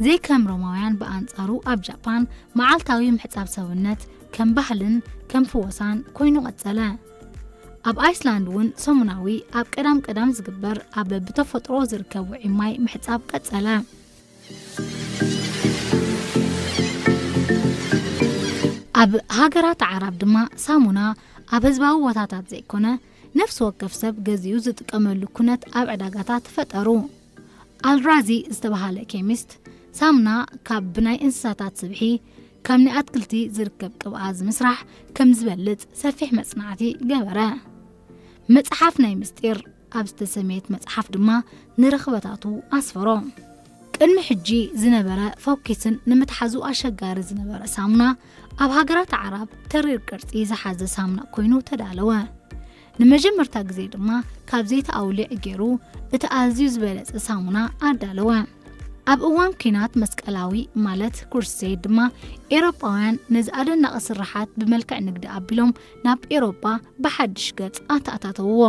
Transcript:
ዘይከም ሮማውያን ብኣንጻሩ ኣብ ጃፓን መዓልታዊ ምሕጻብ ሰውነት ከም ባህልን ከም ፍወሳን ኮይኑ ቀጸለ። ኣብ ኣይስላንድ እውን ሰሙናዊ ኣብ ቀዳም ቀዳም ዝግበር ኣብ ብተፈጥሮ ዝርከብ ውዑይ ማይ ምሕጻብ ቀጸለ። ኣብ ሃገራት ዓራብ ድማ ሳሙና ኣብ ህዝባዊ ቦታታት ዘይኮነ ነፍሲ ወከፍ ሰብ ገዚኡ ዝጥቀመሉ ኩነት ኣብ ዕዳጋታት ተፈጠሩ። ኣልራዚ ዝተባሃለ ኬሚስት ሳሙና ካብ ብናይ እንስሳታት ስብሒ ካብ ናይ ኣትክልቲ ዝርከብ ቅብኣ ዝምስራሕ ከም ዝበልጽ ሰፊሕ መጽናዕቲ ገበረ። መጽሓፍ ናይ ምስጢር ኣብ ዝተሰመየት መጽሓፍ ድማ ንረኽበታቱ ኣስፈሮ። ቅድሚ ሕጂ ዝነበረ ፈኪስን ንምትሓዙ ኣሸጋሪ ዝነበረ ሳሙና ኣብ ሃገራት ዓራብ ተሪር ቅርጺ ዝሓዘ ሳሙና ኮይኑ ተዳለወ። ንመጀመርታ ግዜ ድማ ካብ ዘይቲ ኣውሊዕ ገይሩ እቲ ኣዝዩ ዝበለጸ ሳሙና ኣዳለወ። ኣብ እዋን ኲናት መስቀላዊ ማለት ክሩሴድ ድማ ኤውሮጳውያን ነዚ ኣደናቒ ስርሓት ብመልክዕ ንግዲ ኣቢሎም ናብ ኤውሮጳ ብሓድሽ ገጽ ኣተኣታተውዎ።